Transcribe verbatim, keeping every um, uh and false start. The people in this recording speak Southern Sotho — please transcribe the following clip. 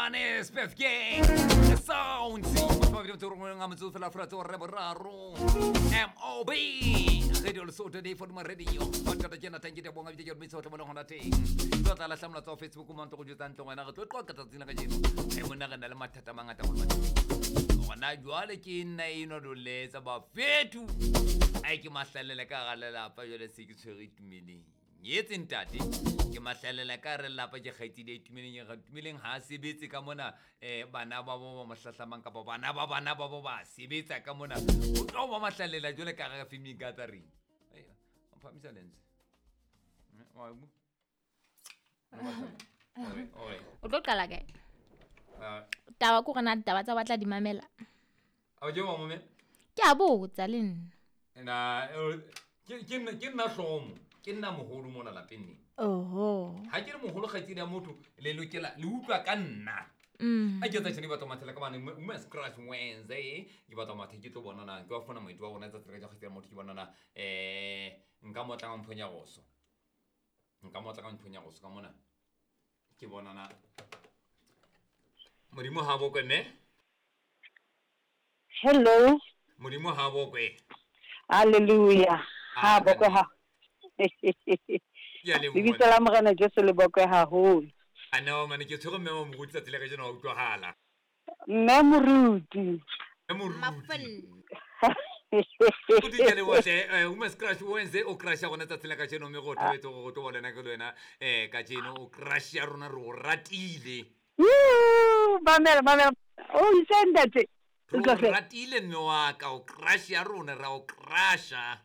Mane Spef Gang The Sounds Mabedi motho rongwe nga motso fela fela tso re boraro M O B Radio Lesotho day for the radio. Ba tjena thank you bonga bije ke mitso tlo bona hona teng. Tlo tla lahlamla tsa Facebook mo ntlo go jotsa ntlo ngwana re tlo qoqa tsatsing la kajeno. E monna re na le mathata a mangata go mane. Gona jwale ke nna eno doletsa ba fetu. Ai ke mahlalele ka ga lelapa jwale se ke tshwere tumeleng. Nyetse ntate ke mahlalela ka re lapa ke kgaitsedi e tumeleng ya tumeleng ha sebetse ka mona eh bana ba bo ba mohlahlamang kapa bana ba bana ba bo ba sebetsa ka mona o tlo ba mahlalela jwale ka ga family gathering. Eh o phamisa lense. Wa bu. Oi. O tlo qala kae? Taba ko rena taba tsa batla di mamela. A je wa mome? Ke a botsa le nna. Na ke ke ke nna hlomo. Ke nna moholo mona lapeng ne. Oho. Ha ke re moholo kgaitsedi ya motho le lokela le utlwa ka nna. Mm. A ke tsa tshene batho mathela ka bane Women's Crush Wednesday ke batho mathe ke tlo bona na ke wa fona moeti wa rona tsa tsela ka kgaitsedi ya motho ke bona na eh nka motla ka mphonya goso. Nka motla ka mphonya goso ka mona. Ke bona na Modimo ha bokwe ne? Hello. Modimo ha bokwe. Hallelujah. Ha bokwe ha. Ya le lebitso la Morena Jesu le bokwe haholo. A no mane ke tshwere mme wa moruti tsatsi la kajeno wa utlwahala. Mme moruti. Mme moruti. Mafel. O di ke le botle Women's Crush Wednesday o crush ya rona tsatsi la kajeno mme go thabetse go go tlo bona ke le wena eh kajeno o crush ya rona re o ratile. Woo, mamela mamela. O isendate. Re o ratile mme wa ka o crush ya rona ra o crusha.